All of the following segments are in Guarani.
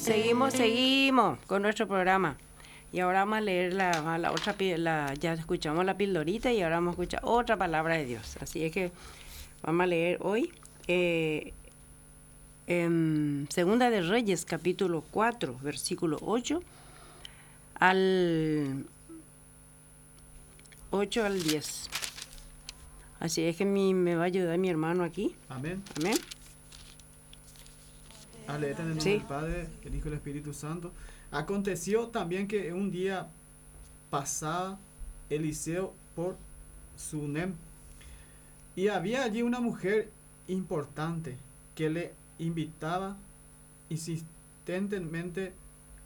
Seguimos, seguimos con nuestro programa. Y ahora vamos a leer la, la otra, la, ya escuchamos la pildorita y ahora vamos a escuchar otra palabra de Dios. Así es que vamos a leer hoy eh, en Segunda de Reyes, capítulo 4, versículo 8 al 8 al 10. Así es que mi, me va a ayudar mi hermano aquí. Amén. Amén. A leer en el nombre del Padre, el Hijo y el Espíritu Santo. Aconteció también que un día pasaba Eliseo por Sunem y había allí una mujer importante que le invitaba insistentemente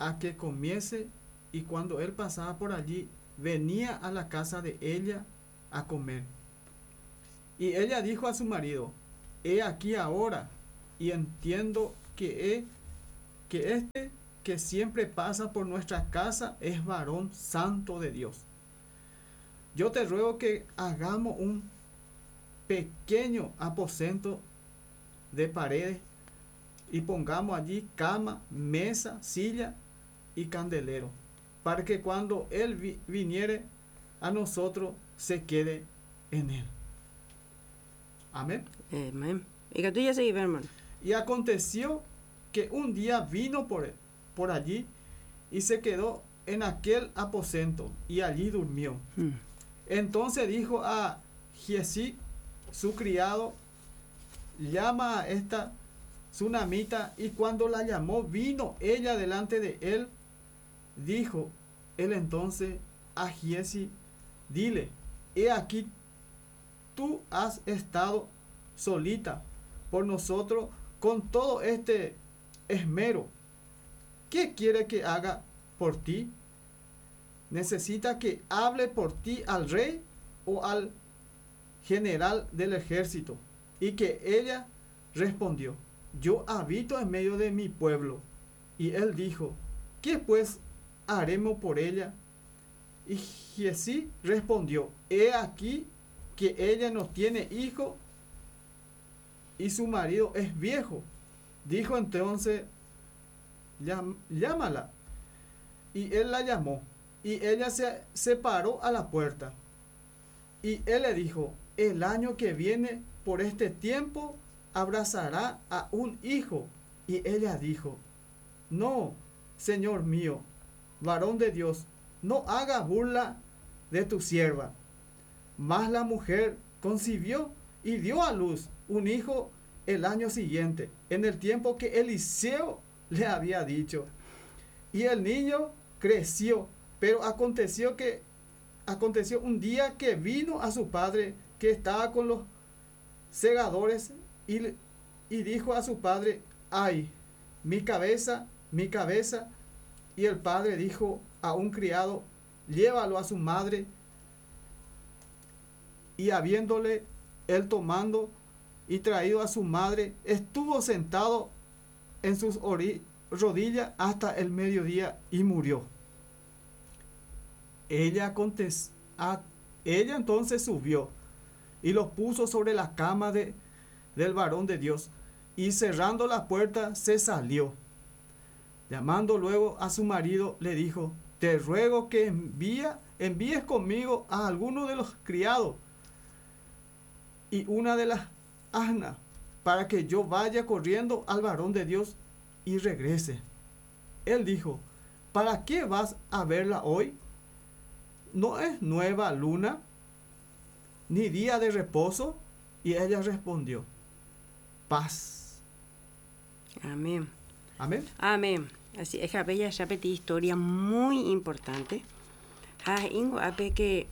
a que comiese y cuando él pasaba por allí venía a la casa de ella a comer. Y ella dijo a su marido, he aquí ahora y entiendo que, que este que siempre pasa por nuestra casa es varón santo de Dios. Yo te ruego que hagamos un pequeño aposento de paredes y pongamos allí cama, mesa, silla y candelero, para que cuando él viniere a nosotros se quede en él. Amén. Amén. Y que tú ya seguís, hermano. Y aconteció que un día vino por, por allí y se quedó en aquel aposento y allí durmió. Entonces dijo a Giezi, su criado, llama a esta tsunamita y cuando la llamó vino ella delante de él. Dijo él entonces a Giezi, dile, he aquí tú has estado solita por nosotros con todo este esmero. ¿Qué quiere que haga por ti? ¿Necesita que hable por ti al rey o al general del ejército? Y que ella respondió, yo habito en medio de mi pueblo. Y él dijo, ¿qué pues haremos por ella? Y Giezi respondió, he aquí que ella no tiene hijo y su marido es viejo. Dijo entonces, llámala. Y él la llamó. Y ella se, se paró a la puerta. Y él le dijo, el año que viene por este tiempo abrazará a un hijo. Y ella dijo, no, Señor mío, varón de Dios, no haga burla de tu sierva. Mas la mujer concibió y dio a luz un hijo el año siguiente, en el tiempo que Eliseo le había dicho. Y el niño creció, pero aconteció que aconteció un día que vino a su padre que estaba con los segadores y, y dijo a su padre, ay, mi cabeza, mi cabeza. Y el padre dijo a un criado, llévalo a su madre. Y habiéndole él tomando y traído a su madre, estuvo sentado en sus rodillas hasta el mediodía y murió. Ella, ella entonces subió y lo puso sobre la cama de, del varón de Dios y cerrando la puerta se salió. Llamando luego a su marido le dijo, te ruego que envía, envíes conmigo a alguno de los criados y una de las asnas para que yo vaya corriendo al varón de Dios y regrese. Él dijo, ¿para qué vas a verla hoy? ¿No es nueva luna? ¿Ni día de reposo? Y ella respondió, paz. Amén. Amén. Amén. Así es, bella ya historia muy importante. Ah, ingo ape que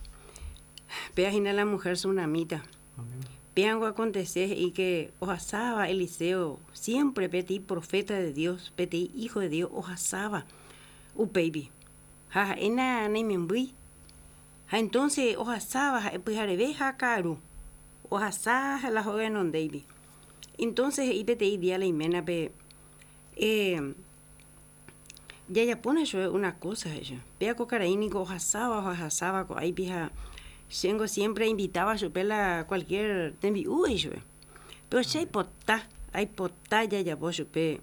vea la mujer tsunamita. Amén. Acontecer y que ojasaba Eliseo, siempre petí profeta de Dios, petí hijo de Dios, ojasaba upeipi. Ja, ena naimembýi. Ha entonces ohasaba ha'e pyhareve ha ka'aru. Ohasa la hóga henondéipi. Entonces he'i peteĩ día la iménape eh, jajapóna chupe una cosa he'i chupe. Péa ko karai niko ohasáva ohasáva ko'áipi ha chéngo siempre ainvitáva chupe la cualquier tembi'u he'i chupe. Péro che aipota, aipota jajapo chupe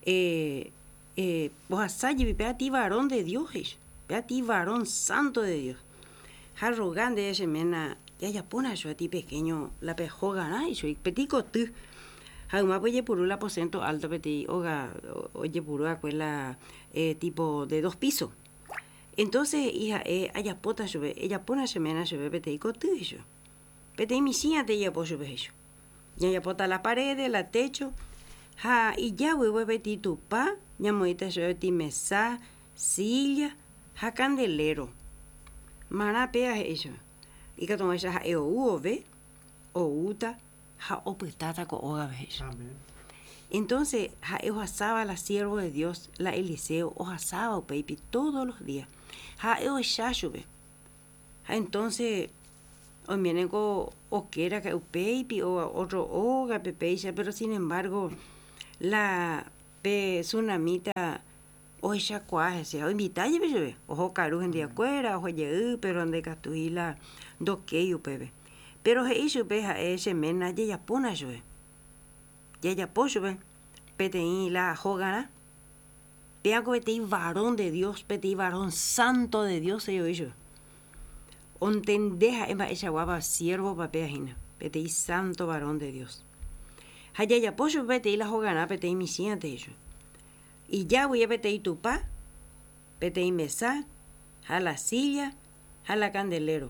eh, Eh, ohasa jepi pe aty varón de Dios he'i, pe aty varón santo de Dios. Ha roga ndéve che ména jajapóna chupe aty pequeño la pe hógarã he'i chupe, peteĩ koty. Ha ymápe ojepuru la aposento alto peteĩ óga ojepuru va'ekue la eh, tipo de dos piso. Entonces he'i ha'e ajapóta chupe, ejapóna che ména chupe peteĩ koty he'i chupe. Peteĩ michĩ'ate ejapo chupe he'i chupe. Jajapóta la parede, la techo, ha ija guive peteĩ tupa, ñamoĩta chupe peteĩ mesa, silla ha candelero. Marã péva he'i chupe, ikatu hag̃uáicha ha'e ou vove, oúta ha opytáta ko ógape he'i chupe. Amén. Entonces, ha'e ohasáva la siervo de Dios, la Eliseo, ohasáva upéipi todos los días. Ha ha'e ohecha chupe. Ha entonces, oiméneko okéraka'e upéipi o otro ógape péicha, pero sin embargo, la pe sunamita ohechakuaa hese ha oinvita jepi chupe, oho karu hendiakuéra, oho jey, pero ndaikatúi la ndokéi upépe. Pero he'i chupe ha'e che ména jajapóna chupe, jajapo chupe peteĩ la hogarã, péako peteĩ varón de Dios, peteĩ varón santo de Dios he'i voi chupe. Ontende ha'e mba'eichaguápa siervo-pa péva hína, peteĩ santo varón de Dios. Ha jajapo chupe peteĩ la hogarã peteĩ michĩante he'i chupe. Ija guive peteĩ tupa, peteĩ mesa, ha la silla, ha la candelero.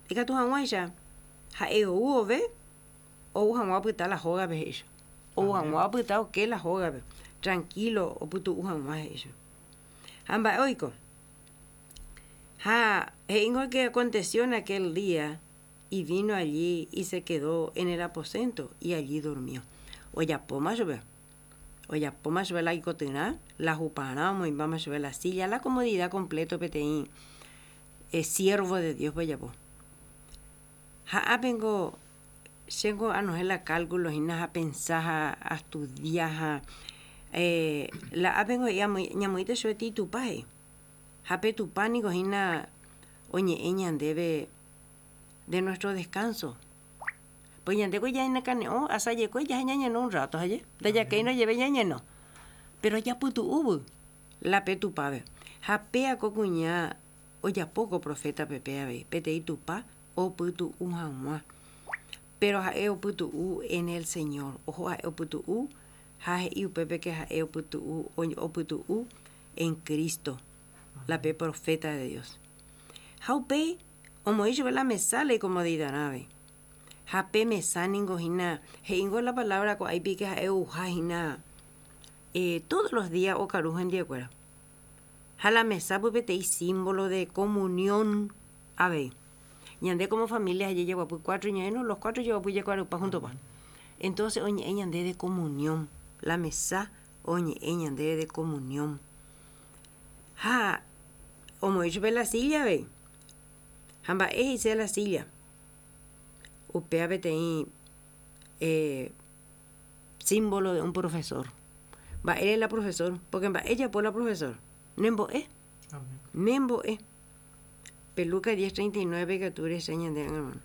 Ikatu hag̃uáicha ha'e ou vove, ou hag̃ua opyta la hógape he'i chupe. Ou hag̃ua opyta oke la hógape, tranquilo opytu'u hag̃ua he'i chupe. Ha mba'e oiko? Ha he'íngo que aconteció en aquel día y vino allí y se quedó en el aposento y allí durmió. Ojapóma chupe. Ojapóma chupe la ikotyrã, la huparã, omoĩmbáma chupe la silla, la comodidad completo peteĩ eh, siervo de Dios-pe ojapo. Ha ápengo chéngo anohẽ la cálculo hína ha pensa ha astudia ha eh, la ápengo he'i ñamoĩta chupe tei Tupã he'i. Ha pe Tupã niko hína oñe'ẽ ñandéve de nuestro descanso. Pues ñandéko ñanekane'õ asajekue jaha ñañeno un rato aje, ndajakéirõ jeve ñañeno. Pero japytu'úvy la pe Tupãpe. Ha péa ko kuña ojapo ko profétape pe avei, peteĩ Tupã opytu'u hag̃ua. Pero ha'e opytu'u en el Señor. Oho ha'e opytu'u ha he'i upépe que ha'e opytu'u, opytu'u en Cristo, la pe profeta de Dios. Ha upéi omoĩ chupe la mesa la icomodidarã avei. Ha pe mesa ningo hína, he'íngo la palabra ko'áipi que ha'e ouha hína eh, todos los días okaru hendiekuéra. Ha la mesa pype peteĩ símbolo de comunión avei. Ñande como familia jajeguapy cuatro ñaẽno, los cuatro jeguapy jekuarupa juntopa. Entonces oñe'ẽ ñande de comunión, la mesa oñe'ẽ ñande de comunión. Ha omoĩ chupe la silla avei. Ha mba'e he'ise la silla? Upéva peteĩ eh, símbolo de un profesor. Mba'ére la profesor? Porque mba'e japo la profesor? Nembo'e. Nembo'e. Pe Lucas 10:39 katu rehecha ñande hermano.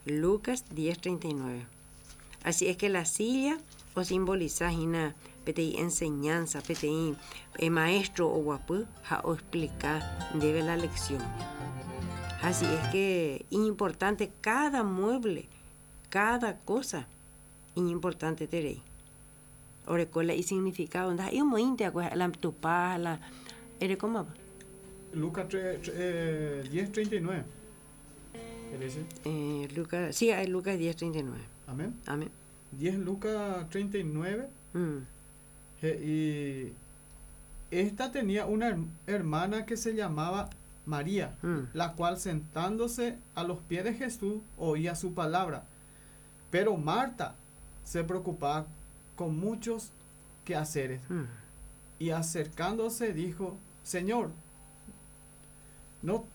Lucas 10:39. Así es que la silla osimboliza hína peteĩ enseñanza, peteĩ eh, maestro oguapy ha oexplica ndéve la lección. Así es que importante cada mueble, cada cosa iñimportanteterei. Oreko la isignificado, ndaha'éi omoĩnte va'ekue la tupa ha la erekómapa. Lucas 10:39. Eh, Lucas, sí, Lucas 10:39. Amén. Amén. 10 Lucas 39. He'i, Esta tenía una hermana que se llamaba María, la cual sentándose a los pies de Jesús oía su palabra. Pero Marta se preocupaba con muchos quehaceres. Y acercándose dijo, Señor, ¿no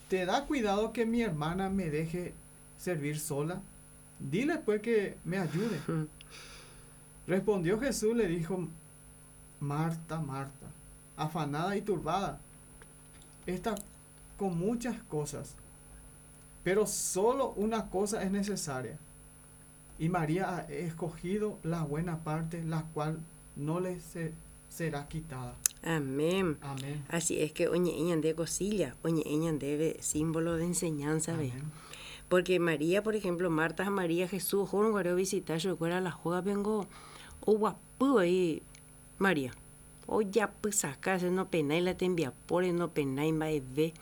te da cuidado que mi hermana me deje servir sola? Dile pues que me ayude. Respondió Jesús, le dijo, Marta, Marta, afanada y turbada, está con muchas cosas, pero solo una cosa es necesaria. Y María ha escogido la buena parte, la cual no le, se, será quitada. Amén. Amén. Así es que oñe'ẽ ñande ko silla, oñe'ẽ ñandéve símbolo de enseñanza ve. Amén. Porque María, por ejemplo, Marta ha María Jesús ohórõ guare ovisita chupekuéra la hógape ngo oguapy voi María. Ojapysaka hese nopenái la tembiapóre, nopenái mba'eve.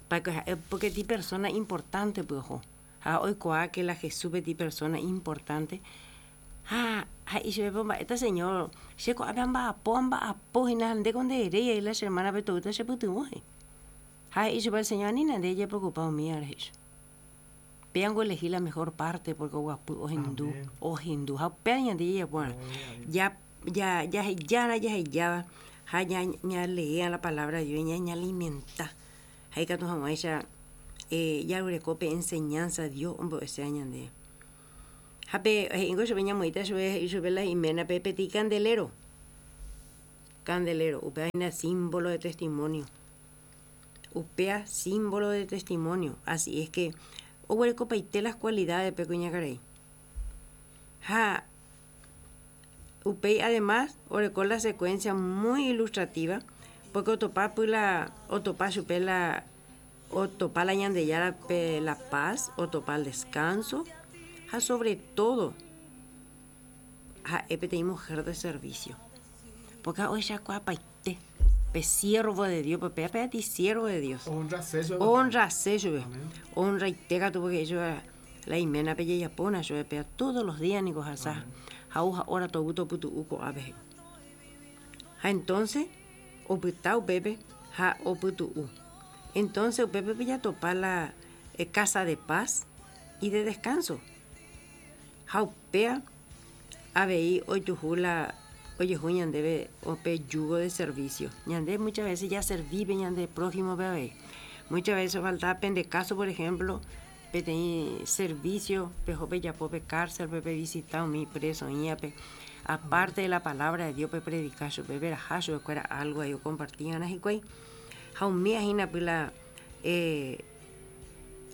Pa que ha'e porque ti persona importante py oho. Ha oikuaa que la Jesús peteĩ persona importante. Ha he'i chupe po mba'éta Señor, che ko'ápe amba'apo, amba'apo hína ha ndéko ndeeréi ai la che hermana-pe toýta chepytyvõ he'i. Ha he'i chupe el Señor, anína nde ejepreocupa umíva rehe he'i chupe. Péango elegi la mejor parte porque oguapy ohendu, ohendu ha upéva ñande jajapo va'erã. Ja, ja, jahejára jahejáva ha ña, ñaleea la palabra de Dios, ñañalimenta ha ikatu hag̃uáicha eh, jaguereko pe enseñanza Dios ombo'eséva ñandéve. Ha pe he'íngo chupe ñamoĩta chupe he'i chupe la iménape peteĩ candelero. Candelero, upéva hína símbolo de testimonio. Upéva símbolo de testimonio. Así es que oguerekopaite las cualidades pe kuñakarai. Ha upéi además oreko la secuencia muy ilustrativa porque otopa py la otopa chupe la otopa la Ñandejára pe la paz, otopa el descanso ha sobre todo ha'e peteĩ mujer de servicio. Porque ohechakuaapaite pe siervo de Dios, pe péva peteĩ siervo de Dios. Ohonrase chupe. Ohonrase chupe. Amén. Ohonraite katu porque he'i chupe la iménape jajapóna chupe péva todos los días niko ohasa ha ou ha'óra tovu topytu'u ko'ápe he'i. Ha entonces opyta upépe ha opytu'u. Entonces upépe pejatopa la casa de paz y de descanso. Ha upéva avei ojuhu la ojehu ñandéve pe yugo de servicio. Ñande muchas veces jaservi pe ñande prójimo-pe avei. Muchas veces ofaltaba pende caso, por ejemplo, peteĩ servicio peho pejapo pe cárcel-pe pevisita umi preso oĩvape. Aparte de la palabra de Dios pepredika chupe, peraha chupekuéra algo ahí okomparti va'erã hikuái. Ha umíva hína py la eh,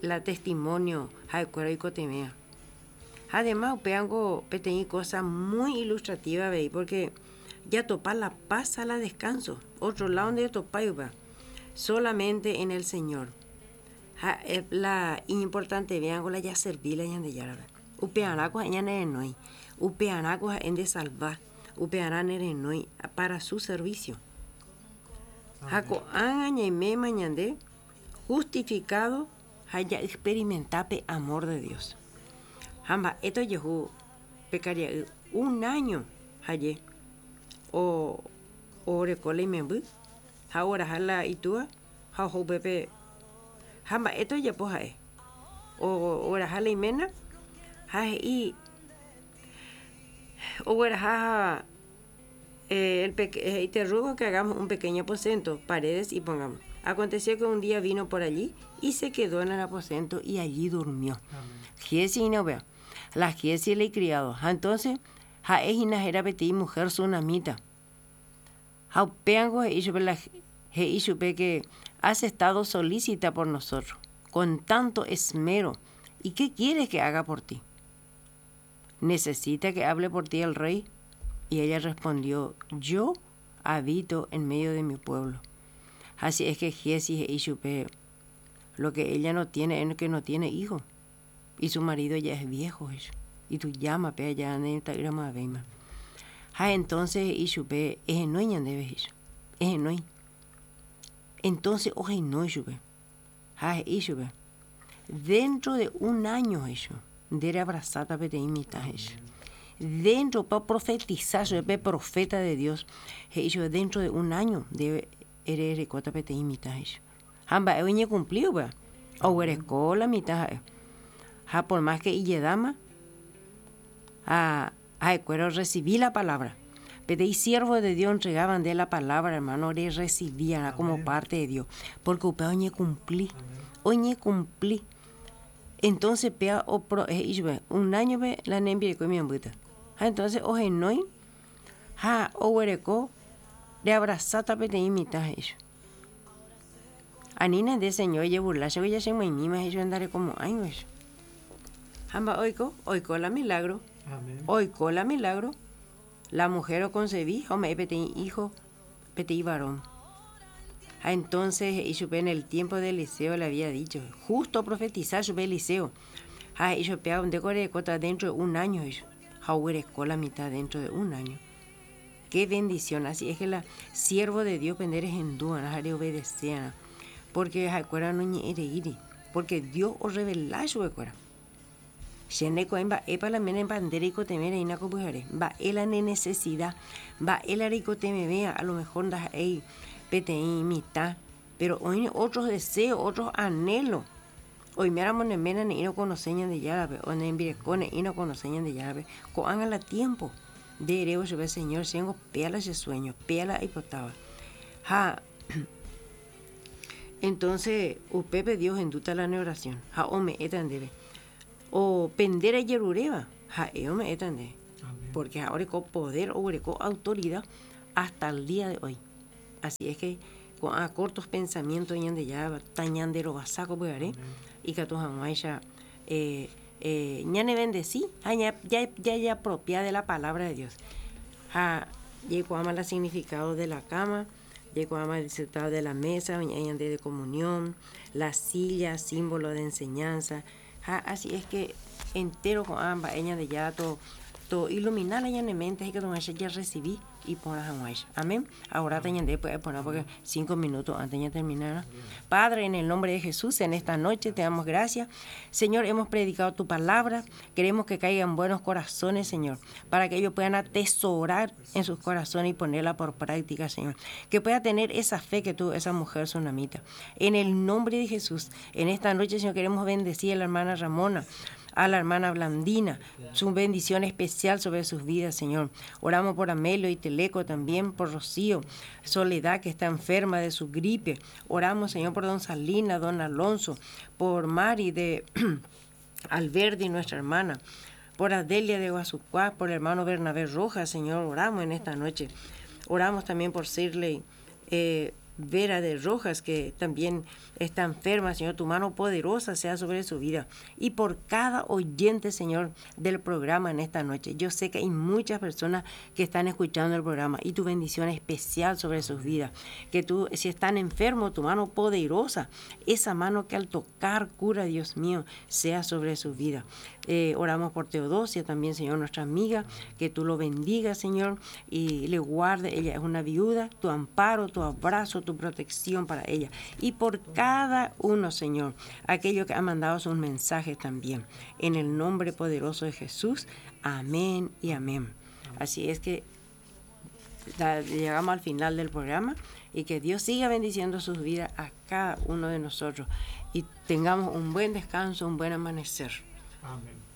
la testimonio ha'ekuéra oikotevẽva. Ha además upévango peteĩ cosa muy ilustrativa avei porque jatopa la paz ha la descanso. Otro lado ndetopái upéva. Solamente en el Señor. Ha la iñimportantevévango la jaservi la Ñandejárape. Upearãko ha'e ñanerenói. Upearãko ha'e ndesalva. Upearã nerenói para su servicio. Ha ko'ág̃a ñaiméma ñande justificado ha ja'experimenta pe amor de Dios. Ha mba'éta ojehu pe karia'y un año haye o oreko la imemby ha oraha la itúa ha oho upépe ha mba'éta ojapo ha'e oraha la iména ha he'i ogueraha el he'i te ruego que hagamos un pequeño aposento, paredes y pongamos. Aconteció que un día vino por allí y se quedó en el aposento y allí durmió. Giesi hína upéva. La Giesi la icriado. Ha entonces ha'e hína héra peteĩ mujer sunamita. Ha upévango he'i chupe la he'i chupe que has estado solícita por nosotros con tanto esmero y qué quieres que haga por ti. Necesita que hable por ti el rey. Y ella respondió, yo habito en medio de mi pueblo. Así es que Giesi he'i chupe lo que ella no tiene es que no tiene hijo. Y su marido ya es viejo. Y tujáma pe aja ndaita'ýramavéima. Ha entonces he'i chupe ehenói ñandéve he'i. Ehenói. Entonces ohenói chupe. Ha he'i chupe dentro de un año he'i chupe nde reabrasáta peteĩ mitã he'i chupe. Dentro pa oprofetisa chupe pe profeta de Dios he'i chupe dentro de un año nde ererekóta peteĩ mitã he'i chupe. Ha mba'e oñekumpli upéva oguereko la mitã ha'e. Ha por más que ijedáma ha ha'ekuéra orrecibi la palabra. Peteĩ siervo de Dios entregáva nde la palabra hermano rerrecibíarã como parte de Dios. Porque upéva oñekumpli. Oñekumpli. Entonces péva he'i chupe un año-pe la nembireko imembýta. Ha entonces ohenói ha oguereko reabrasáta peteĩ mitã he'i chupe. Anína nde Señor ejeburla chegui jachemoĩmíma he'i chupe ndarekomo'ãigui he'i chupe. Ha mba'e oiko? Oiko la milagro. Amén. Oiko la milagro. La mujer oconcebi ha ome'ẽ peteĩ hijo, peteĩ varón. Ha entonces he'i chupe en el tiempo de Eliseo le había dicho, justo oprofetiza chupe Eliseo, ha he'i chupe péva ndéko erekóta dentro de un año he'i chupe, ha oguereko la mitad dentro de un año. Qué bendición, así es que la siervo de Dios pende rehendúarã ha reobedecearã, porque ha'ekuéra noñe'ẽreíri, porque Dios orrevela chupekuéra. Che ndaikuaái mba'épa la ména mba'e reikotevẽ reína ko pyhare, mba'e la ne nesesida, mba'e la reikotevẽvéva, a lo mejor ndaha'éi peteĩ mitã, péro oĩ otros deseo, otros anhelo. Oiméramo ne ména ne'ĩra okonose Ñandejárape, o ne rembireko ne'ĩra okonose Ñandejárape, ko'ág̃a la tiémpo nde erévo chupe, Señor, chéngo péa la che suéño, péa la aipotáva. Ha entonce upépe Dios ohendúta la ne oración ha ome'ẽta ndéve. O pe nde rejeruréva, ha'e ome'ẽta ndéve. Porque ha'e oreko poder, oguereko autoridad hasta el día de hoy. Así es que ko'ã cortos pensamientos Ñandejára tañanderovasa ko pyhare ikatu hag̃uáicha ñanevendesi ha jajapropia de la palabra de Dios. Ha jaikuaáma la significado de la cama, jaikuaáma el significado de la mesa, oñe'ẽ ñande de comunión, la silla, símbolo de enseñanza. Ha así es que entero ko'ã mba'e Ñandejára toilumina la ñane mente ha ikatu hag̃uáicha jarrecibi iporã hag̃uáicha. Amén. Ahoráta ñande pya'e porã porque cinco minutos antes ñaterminarã. Padre, en el nombre de Jesús, en esta noche te damos gracias. Señor, hemos predicado tu palabra. Queremos que caigan buenos corazones, Señor, para que ellos puedan atesorar en sus corazones y ponerla por práctica, Señor. Que pueda tener esa fe que tuvo esa mujer sunamita. En el nombre de Jesús, en esta noche, Señor, queremos bendecir a la hermana Ramona, a la hermana Blandina, su bendición especial sobre sus vidas, Señor. Oramos por Amelio y Teleco también, por Rocío, Soledad, que está enferma de su gripe. Oramos, Señor, por don Salina, don Alonso, por Mari de Alberdi, nuestra hermana, por Adelia de Guasucuá, por el hermano Bernabé Rojas, Señor, oramos en esta noche. Oramos también por Sirley Vera de Rojas, que también está enferma, Señor, tu mano poderosa sea sobre su vida. Y por cada oyente, Señor, del programa en esta noche. Yo sé que hay muchas personas que están escuchando el programa y tu bendición especial sobre sus vidas. Que tú, si están enfermos, tu mano poderosa, esa mano que al tocar cura, Dios mío, sea sobre su vida. Oramos por Teodosia también, Señor, nuestra amiga, que tú lo bendigas, Señor, y le guarde. Ella es una viuda, tu amparo, tu abrazo, tu protección para ella. Y por cada uno, Señor, aquello que ha mandado sus mensajes también. En el nombre poderoso de Jesús, amén y amén. Así es que llegamos al final del programa y que Dios siga bendiciendo sus vidas a cada uno de nosotros y tengamos un buen descanso, un buen amanecer. Amén.